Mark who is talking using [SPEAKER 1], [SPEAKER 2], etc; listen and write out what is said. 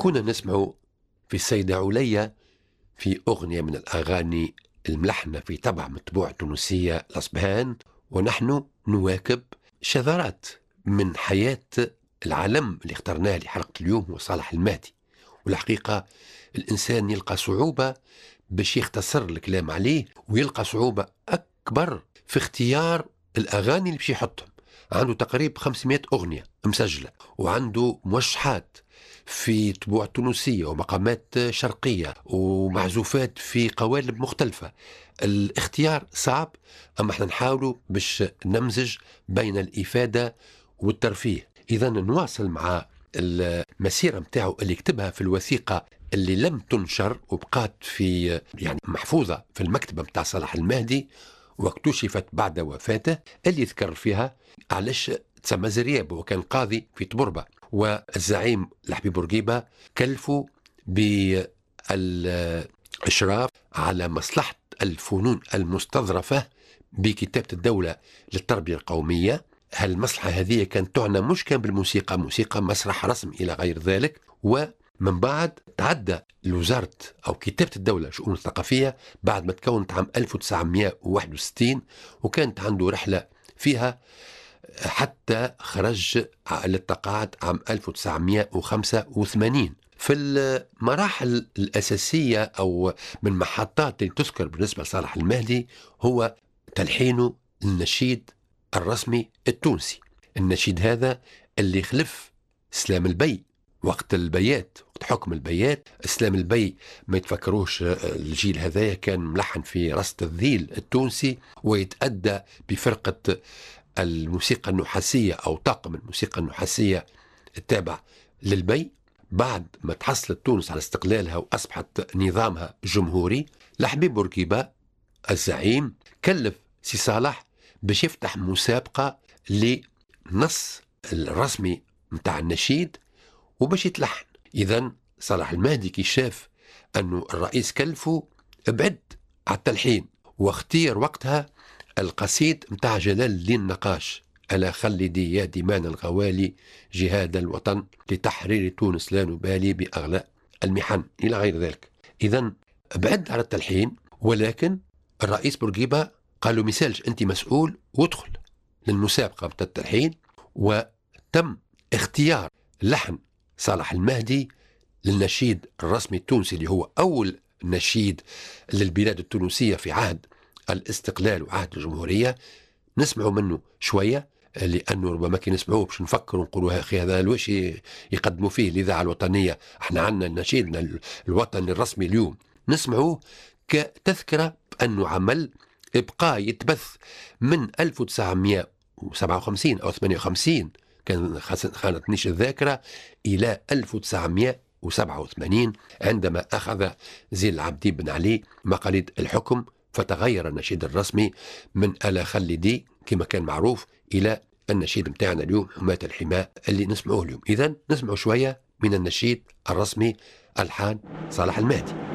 [SPEAKER 1] كنا نسمع في السيدة عليا في أغنية من الأغاني الملحنة في طبع مطبوع تونسية الأصبهان، ونحن نواكب شذرات من حياة العالم اللي اخترناه لحلقة اليوم هو صالح المهدي. والحقيقة الإنسان يلقى صعوبة باش يختصر الكلام عليه، ويلقى صعوبة أكبر في اختيار الأغاني اللي باش يحطهم. عنده تقريبا 500 أغنية مسجلة، وعنده موشحات في طبوع تونسية ومقامات شرقية ومعزوفات في قوالب مختلفة. الاختيار صعب، أما احنا نحاولوا باش نمزج بين الإفادة والترفيه. إذا نواصل مع المسيرة متاعه اللي كتبها في الوثيقة اللي لم تنشر وبقات في يعني محفوظة في المكتبة متاع صالح المهدي واكتشفت بعد وفاته، اللي ذكر فيها علاش تسمى زرياب، وكان قاضي في طبربة، والزعيم الحبيب بورقيبة كلفوا بالإشراف على مصلحة الفنون المستظرفة بكتابة الدولة للتربية القومية. هالمصلحة هذه كانت تعنى مش كان بالموسيقى، موسيقى، مسرح، رسم إلى غير ذلك. ومن بعد تعدى لوزارة أو كتابة الدولة شؤون الثقافية بعد ما تكونت عام 1961، وكانت عنده رحلة فيها حتى خرج للتقاعد عام 1985. في المراحل الأساسية أو من محطات اللي تذكر بالنسبة لصالح المهدي هو تلحينه النشيد الرسمي التونسي. النشيد هذا اللي خلف سلام البي وقت البيات، وقت حكم البيات. اسلام البي ما يتفكروش الجيل هذايا، كان ملحن في رصد الذيل التونسي ويتأدى بفرقة الموسيقى النحاسية أو طاقم الموسيقى النحاسية التابع للبي. بعد ما تحصلت تونس على استقلالها وأصبحت نظامها جمهوري، الحبيب بورقيبة الزعيم كلف سي صالح باش يفتح مسابقة لنص الرسمي متاع النشيد وباش يتلحن. إذن صالح المهدي كي شاف أنه الرئيس كلفه بعد على التلحين، واختير وقتها القصيد متاع جلال الدين النقاش: ألا خلدي يا دمان الغوالي جهاد الوطن لتحرير تونس لا نبالي بأغلى المحن إلى غير ذلك. إذن بعد على التلحين، ولكن الرئيس بورقيبة قالوا مثالش أنت مسؤول وادخل للمسابقة متاع التلحين. وتم اختيار لحن صالح المهدي للنشيد الرسمي التونسي اللي هو أول نشيد للبلاد التونسية في عهد الاستقلال وعهد الجمهورية. نسمعوا منه شوية لأنه ربما كي نسمعوه باش نفكروا ونقولوا يا أخي هذا الوش يقدموا فيه الإذاعة الوطنية، احنا عندنا نشيدنا الوطني الرسمي اليوم. نسمعوه كتذكرة بأنه عمل إبقاء يتبث من 1957 أو 58 كان خانتنيش الذاكرة إلى 1987 عندما أخذ زين العابدين بن علي مقاليد الحكم، فتغير النشيد الرسمي من ألا خلدي كما كان معروف إلى النشيد متاعنا اليوم حماة الحماء اللي نسمعوه اليوم. إذن نسمع شوية من النشيد الرسمي ألحان صالح المهدي.